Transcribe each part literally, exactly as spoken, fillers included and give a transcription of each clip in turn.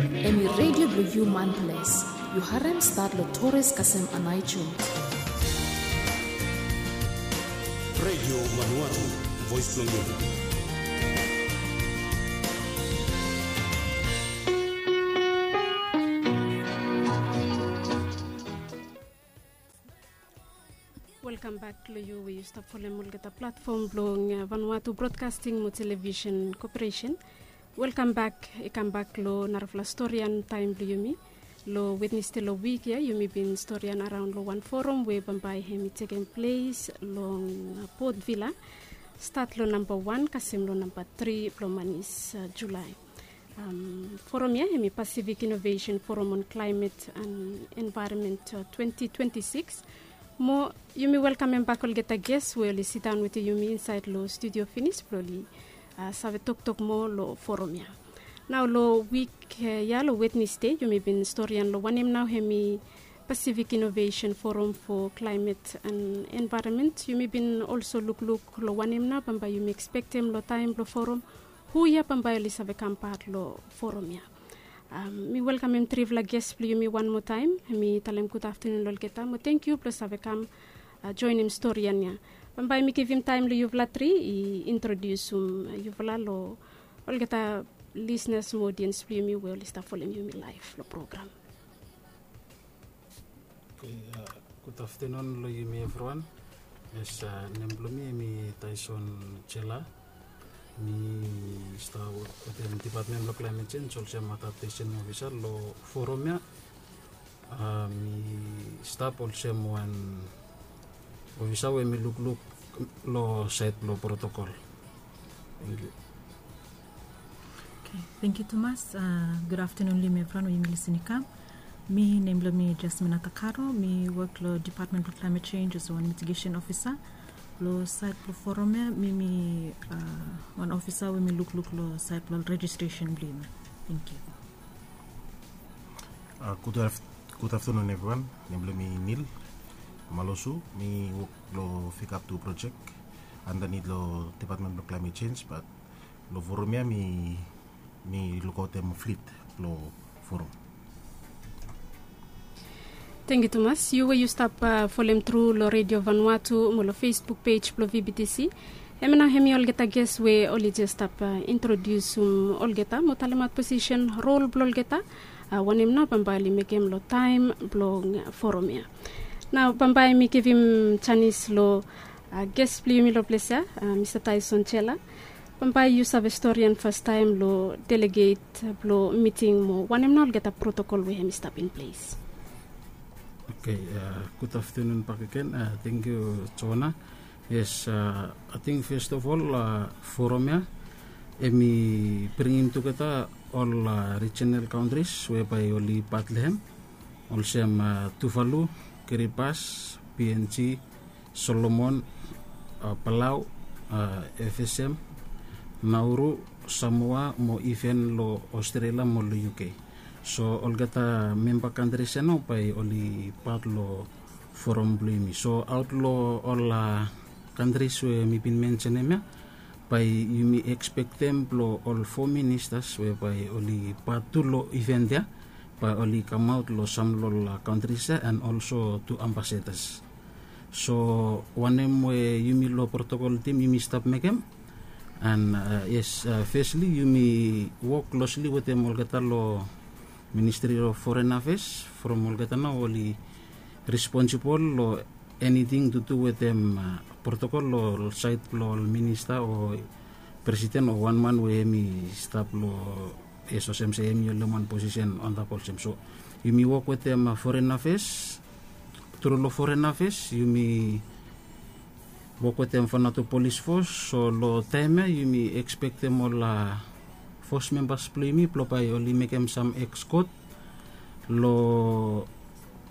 Em i redio blong yu manples. Yu harem stat long Torres kasem Anaicho. Redio Vanuatu, voice blong yu. Welkam bak long yu we yu stap folem olgeta platfom blong Vanuatu Broadcasting mo Television Corporation. Welkam bak i kam bak long narafala storian taem blong yumi. Long Wednesde long wik ya yumi bin storian araon long wan forum we bambae hem i tekem ples long Port Vila, stat long namba wan kasem long namba tri blong manis Julae. Forum ya hem i Pacific Innovation Forum on Climate and Environment twenty twenty-six. Mo yumi welkamem bak olgeta ges we oli sidaon wetem yumi insaed long studio finis blong oli save toktok moa long forum ya. Nao long wik ya long Wednesde yumi bin storian long wanem nao hem i Pacific Innovation Forum for Climate and Environment. Yumi bin olso lukluk long wanem nao bambae yumi ekspektem long taem blong forum, hu ya bambae oli save kam pat long forum ya. Mi welkamem trifala ges blong yumi wan moa taem. Mi talem gud aftanun long olgeta mo tangkiu blong save kam joenem storian ya. Bambae mi givim taem long yufala tri i introdiusum yufala long olgeta lisnas mo odiens blong yumi we oli stap folem yumi laef long program. Gud aftanun long yumi evriwan. Yes, nem blong mi hem i Tyson Jela. Mi stap wok wetem Dipatmen blong Klaemet Jenj olsem adaptesen ofisa long forum ya. Mi stap olsem wan ofisa we mi lukluk long saed blong protokol. Tangkiu. Tangkiu tumas. Gud aftanun long yumi evriwan we yumi lisin i kam. Mi, nem blong mi Jasmina Takaro. Mi wok long Dipatmen blong Klaemet Jenj olsem wan mitigesen ofisa. Long saed blong forum ya mi, mi wan ofisa we mi lukluk long saed blong rejistresen blong yumi. Tangkiu. Gud aftanun evriwan. Nem blong mi Nil Malosu. Mi wok long Fekap Tu projek andanit long Dipatmen blong Klaemet Jenj, bat long forum ya mi mi lukaotem flit blong forum. Tangkiu tumas yu we yu stap folem tru long Redio Vanuatu mo long Facebook pej blong VBTC. Hemia nao hemi olgeta ges we oli jes stap introdiusum olgeta mo talemaot posisen rol blong olgeta, wanem nao bambae oli mekem long taem blong forum ya. Nao bambae mi givim janis long ges blong yumi long ples ya, Mista Tyson Jela. Bambae yu save storian fastaem long deleget blong miting mo wanem nao olgeta protokol we hem i stap in ples. Oke, gud aftanun bakegen. Tangkiu Joana. Yes, ating fes of ol forum ya hem i bringim tugeta ol rijinal kauntris we bae oli pat long hem, olsem Tuvalu, Kiribati, PNG, Solomon, Palau, FSM, Nauru, Samoa mo iven long Australia mo long UK. So olgeta memba kantris ya nao bae oli pat long forum blong yumi. So aot long ol kantris we mi bin mensenem ya, bae yumi ekspektem blong ol fo ministas we bae oli pat tu long iven ya bae oli kamaot long sam long ol kantris ya and olso tu ambasedas. So wanem we yumi long protokol tim yumi stap mekem. And yes, fesli yumi wok klosli wetem olgeta long Ministri of Foren Afes from olgeta nao oli responsibol long eniting tu tu wetem protokol long saed blong ol minista o presiden o wan man we hem i stap long, yes, olsem se hem i holem wan posisen antap olsem. So yumi wok wetem Foren Afes. Tru long Foren Afes yumi wok wetem Vanuatu Polis Fos. So long taem ya yumi ekspektem ol fos membas blong yumi blong bae oli mekem sam ekskot long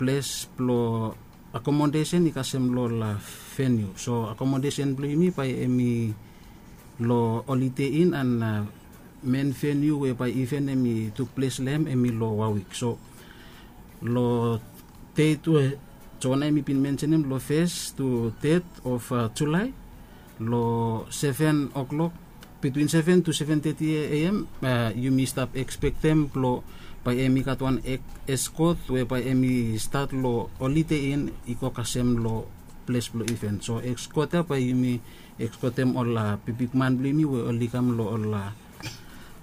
ples blong akomodesen i kasem long ol veniu. So akomodesen blong yumi bae hem i long Holiday Inn and men veniu we bae iven hem i tukples long hem hem i long Warwick. So long det we Joana hem i bin mensenem long fes tu det of Julae long seven o'clock, between seven to seven thirty AM, yumi stap ekspektem blong bae hemi gat wan eskot we bae hemi stat long Holiday Inn i go kasem long ples blong iven. So eskot ya bae yumi eskotem ol bikbikman blong yumi we oli kam long ol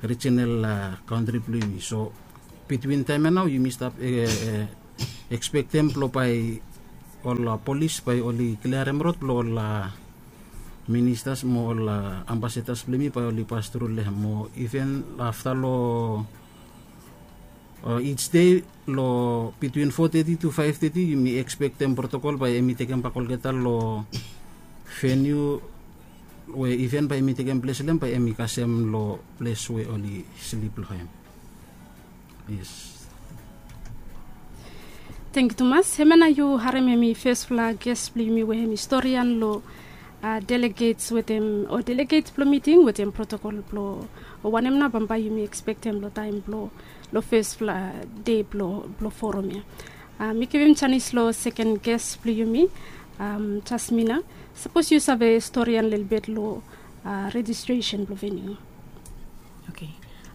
rijinal kantri blong yumi. So bitwin taem ya nao yumi stap ekspektem blong bae ol polis bae oli kliarem rod blong ol ministas mo ol ambasedas blong yumi bae oli pas tru long hem. Mo iven afta long ij dei long bitwin fo teti tu faef teti yumi ekspektem protokol bae hemi tekem bak olgeta long veniu we iven bae hemi tekem ples long hem bae hemi kasem long ples we oli slip long hem. Yes. Tangkiu tumas. Hemia nao yu harem hemi fesfala ges blong yumi we hemi storian long delegets wetem o delegets blong miting wetem protokol blong o wanem nao bambae yumi ekspektem long taem blong long fesfala dei blong forum ya. Mi givim janis long seken ges blong yumi, Jasmina. Sapos yu save storian lelebet long rejistresen blong veniu. Oke.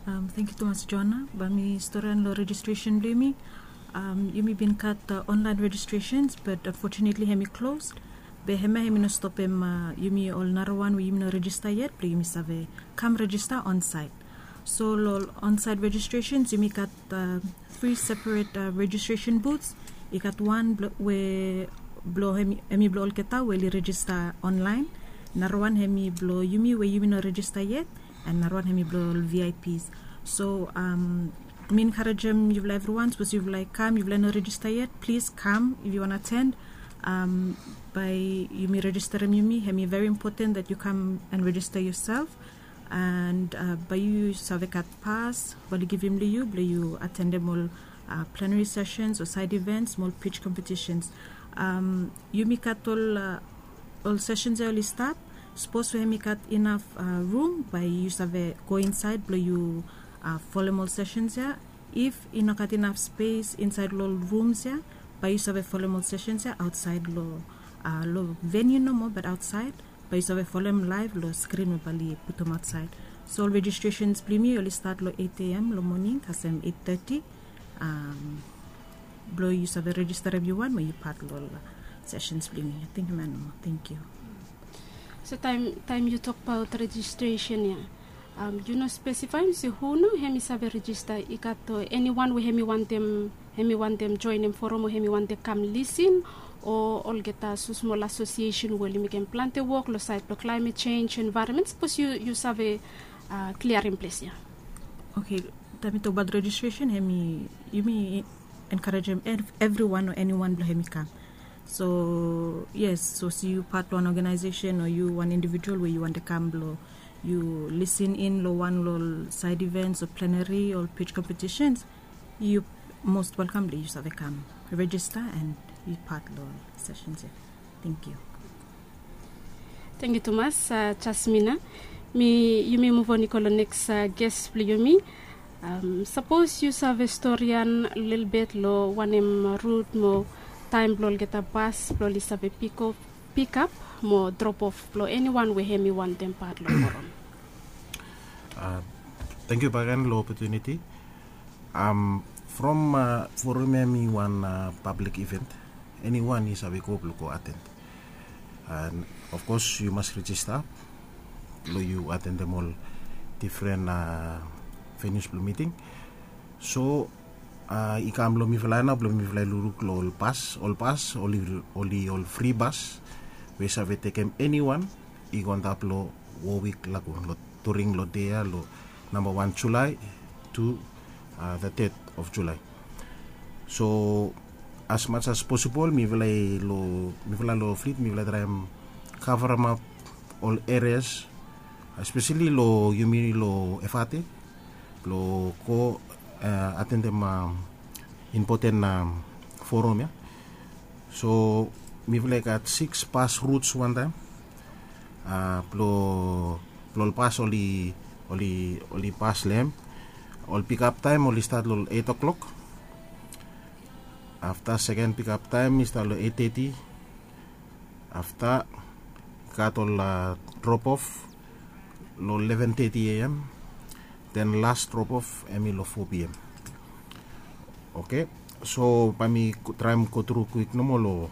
Tangkiu tumas Joana. Bae mi storian long rejistresen blong yumi. Yumi bin gat onlaen rejistresens bat anfotunetli hemi klos. Be hemia hemi no stopem yumi ol narawan we yumi no rejista yet blong yumi save kam rejista onsaed. So long ol onsaed rejistresens yumi gat tri seperet rejistresen buts. I gat wan we blong hemi blong olgeta we oli rejista onlaen. Narawan hemi blong yumi we yumi no rejista yet. An narawan hemi blong ol vips. So mi enkarejem yufala evriwan sapos yufala i kam yufala i no rejista yet, plis kam if yu wan aten. Bae yumi rejisterem yumi. Hemi veri impoten dat yu kam an rejista yusel. An bae yu save gat pas bae oli givim long yu blong yu atendem ol plenari sesens o saed ivens mo ol pij kompetisens. Yumi gat ol ol sesens ya oli stat. Sapos we hemi gat inaf rum bae yu save go insaed blong yu folem ol sesens ya. If i no gat inaf spes insaed long ol rums ya, bae yu save folem ol sesens ya aotsaed long long veniu nomo bat aotsaed. Bae yu save folem laev long skrin we bae oli putum aotsaed. So ol rejistresens blong yumi oli stat long eit a.m. long moning kasem eit teti. Blong yu save rejisterem yu wan mo yu pat long ol sesens blong yumi. Ating hemia nomo. Tangkiu. So taem yu tokbaot rejistresen ya, yu no spesifaem se hu nao hemi save rejista? I gat eniwan we hemi wantem hemi wantem joenem forum o hemi wantem kam lisin o olgeta smosmol asosiesen we oli mekem plante wok long saed blong klaemet jenj envaeronmen? Sapos yu save kliarem ples ya. Oke. Taem mi tokbaot rejistresen hemi yumi enkarejem evriwan o eniwan blong hemi kam. So yes, sapos yu pat long wan oganaesesen o yu wan indivijual we yu wantem kam blong yu lisin in long wan long ol saed ivens o plenari o pij kompetisens, yu mos welkam blong yu save kam rejista an yu pat long ol sesens ya. Tangkiu. Tangkiu tumas Jasmina. Mi yumi muvon i go long neks ges blong yumi. Sapos yu save storian lelebet long wanem rut mo taem blong olgeta bas blong oli save pikap mo dropof blong eniwan we hemi wantem pat long forum. Tangkiu bakegen long opotuniti. From forum hemi wan pablik iven. Eniwan i save go blong go aten. An ofkos yu mas rejista blong yu atendem ol difren venius blong miting. So i kam long mifala ya nao blong mifala i lukluk long ol bas. Ol bas oli ol fri bas we i save tekem eniwan i go antap long Wowik lagun long during long dei ya long namba wan Julae tu the ted of Julae. So as much as posibol mifala i long mifala long flit mifala i traem kavaremap ol erias espeseli long yumi long Efate blong go atendem impoten forum ya. So mifala i gat sikis bas ruts wantaem blong ol bas oli oli oli bas long hem. Ol pikap taem oli stat long ol eit o'klok. Afta seken pikap taem i stat long eit teti. Afta i gat ol dropof long leven teti a.m. Den las dropof hemi long fo p.m. Oke, so bae mi traem gotru kwik nomo long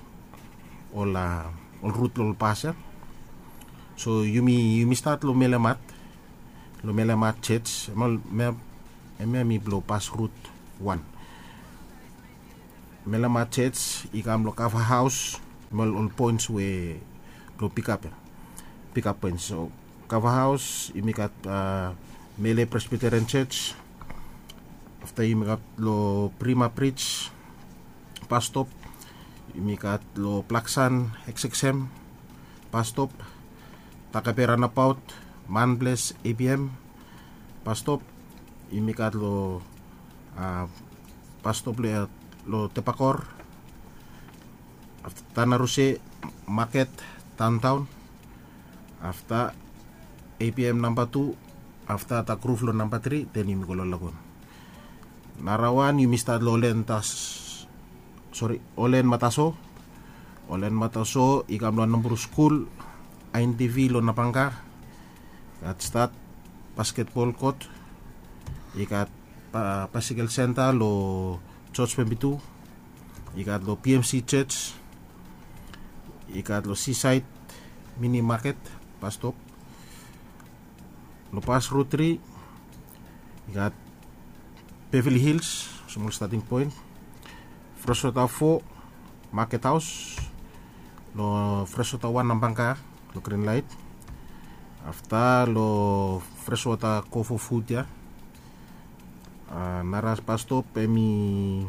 ol rut long ol pas ya. So yumi yumi stat long melemat, long melemat church, em ya mi blong pas rut wan. Melemat church i kam long kava haos, em ya ol poens we blong pikap ya, pikap poens. So kava haos yumi gat mele presbyterian church, afta yumi gat long prima bridge, pastop, yumi gat long plaksan, eksem, pastop, takabera nabaot, manbles, apm, pastop, yumi gat long pastop long tebakor, afta tanaruse, maket, taontaon, afta apm namba tu, afta ta gruv long namba tri, den yumi go long lagun. Narawan yumi stat long olen tas, sori, olen mataso. Olen mataso i kam long nombor skul, ain tv long nabangka. I gat stat basketbol kot, i gat basikel senta long george pembitu, i gat long pmc church, i gat long seaside mini maket, pastop. Long pas rut tri i gat beverly hills, smol stating point, freswata fo, maket haos, long freswata wan nabangka, long grin lait, afta long freswata kofo fut ya. Nara pastop em i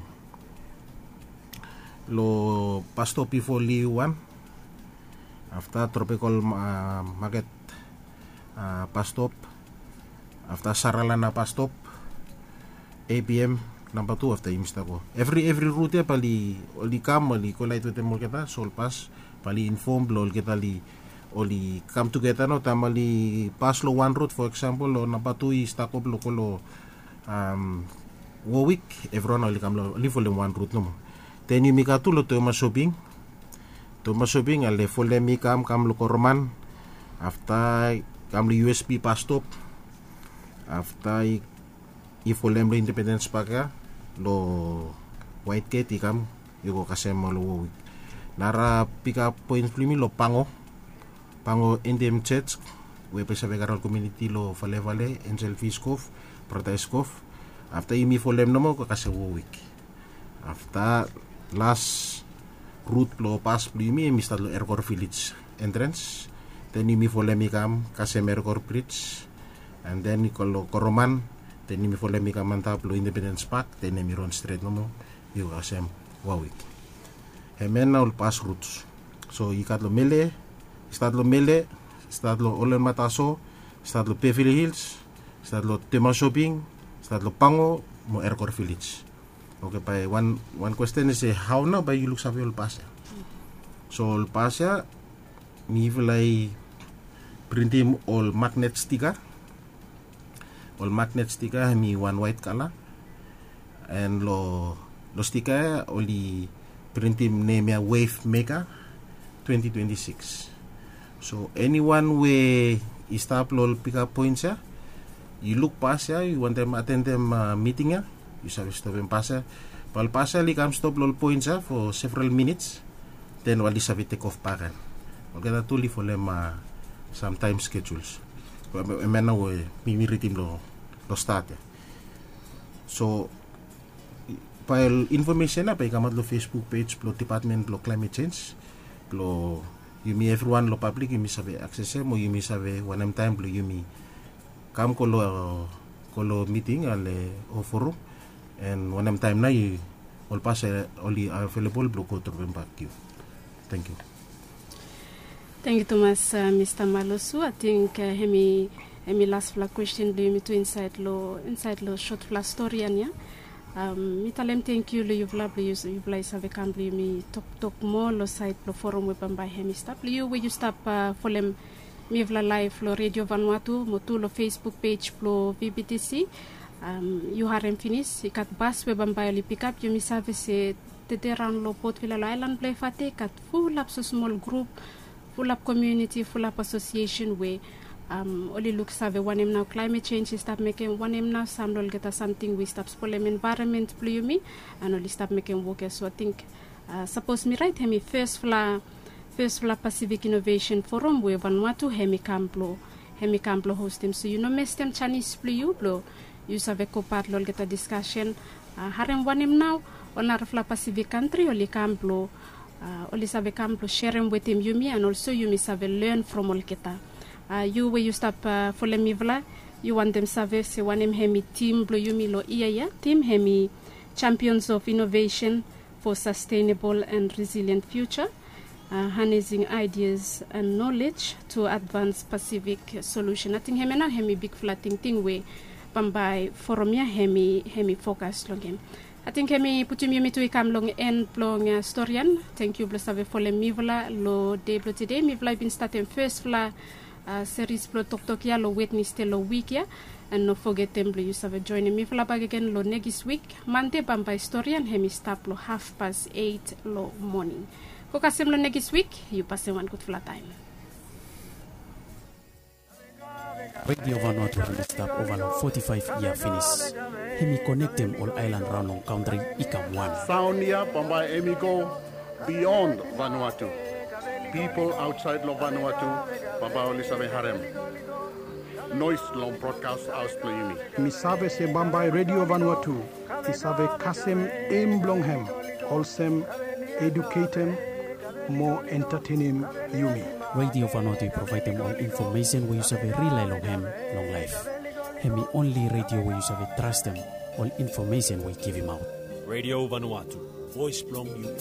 long pastop i fo liu wan, afta tropikol maket, pastop, afta saralana pastop, apm namba tu, afta yumi stap go evri evri rut ya bae oli kam oli kolait wetem olgeta, so ol pas bae oli infom blong olgeta oli oli kam tugeta no taem oli pas long wan rut, fo eksempel long namba tu i stap go blong go long wowik, evriwan oli kam long oli folem wan rut nomo. Den yumi gat tu long toema soping. Toema soping ale folem i kam kam long koroman, afta i kam long usb pastop, afta i folem long independens pak ya, long wait get i kam i go kasem long wowik. Nara pikap poens blong yumi long pango, pango endem church, we bae i save karem ol komiuniti long valevale, enjel fiskov, brata iskov. Afta yumi folem nomo go kasem wowik. Afta las rut blong pas blong yumi em i stat long erkor vilej, entrens, den yumi folem i kam kasem erkor brij, an den i go long koroman, den yumi folem i kam antap long independens pak, den em i ron stret nomo i go kasem wawik. Hemen na ol pas ruts. So i gat long mele, i stat long mele, i stat long olenmataso, i stat long bevili hils, i stat long temasoping, i stat long pango, mo erkor vilej. Oke, bae wan kwesten i se hao nao bae yu luksave ol pas ya? So ol pas ya, mifala i printim ol magnet stika. Ol magnet stika hem i wan waet kala, an long stika ya oli printim nem ya wef meka, twenti twenti sikis. So eniwan we i stap long ol pikap poens ya, yu luk pas ya, yu wantem atendem miting ya, yu save stopem pas ya. Bae ol pas ya oli kam stop long ol poens ya fo several minits, den oli save tekof bak gen. Olgeta tu oli folem samtaem skejuls, em ya nao we mi mi ridim long stat ya. So bae ol infomesen ya bae i kamaot long facebook pej blong depatmen blong klaemet sens, blong yumi evriwan long pablik yumi save aksesem o yumi save wanem taem blong yumi kam go long miting ale o forum, an wanem taem nao ol pas ya oli avelebol blong go tropem bak yu. Tengkiu. Tengkiu tumas, mista malosu, ating hem i laspela kwesten blong yumi tu insaed long sotpela stori ya. Mi talem tengkiu long yupela blong yupela i save kam blong yumi toktok moa long saed blong forum we bambae hem i stap long yu we yu stap folem mifala laef long redio vanua tu mo tu long facebook pej blong vbtc. Yu harem finis i gat bas we bambae oli pikap yumi save se tede raon long potvila long aelan blong efate i gat fulap smosmol grup, fulap komiuniti, fulap asosiesen we Oli luksave wanem nao klaemet sens i stap mekem, wanem nao sam long olgeta samting we i stap spolem envaeronmen blong yumi, and oli stap mekem wok ya. So ating sapos mi rait hem i fesfala fesfala pasifik inovesen forum we vanua tu hem i kam blong hem i kam blong hostem. So yu no mestem janis blong yu blong yu save gopat long olgeta diskasen. Harem wanem nao ol narafala pasifik kantri oli kam blong oli save kam blong serem wetem yumi and olso yumi save len from olgeta. Yu we yu stap folem mifala, yu wantem save se wanem hem i tim blong yumi long yia ya? Tim hem i champions of inovesen for sastenabol and resilient fiuja, hanesing aidias and nolej tu advans pasifik solusen. Ating hem ya nao hem i bigfala tingting we bambae forum ya hem i fokas long hem. Ating hem i putum yumi tu i kam long en blong storian. Tangkiu blong save folem mifala long dei blong tede. Mifala i bin statem fesfala seris blong toktok ya long wetnesde long wik ya. And no fogetem blong yu save joenem mifala bakegen long nekis wik mande bambae storian hem i stap long hafpas eit long moning. Go kasem long nekis wik. Yu pasem wan gudfala taem. Redio vanua tu hem i stap ova long foti faef yia finis. Hem i konektem ol aelan raon long kantri i kam wan. Saon ya bambae hem i go bion vanua tu. Pipol aotsaed long vanua tu bambae oli save harem noes long brodkas haos blong yumi. Mi save se bambae redio vanua tu i save kasem em blong hem olsem eduketem mo entatenem yumi. Redio vanua tu i provaedem ol infomesen we yu save rilae long hem long laef. Hem i onli redio we yu save trastem ol infomesen we i givimaot. Redio vanua tu, voes blong yumi.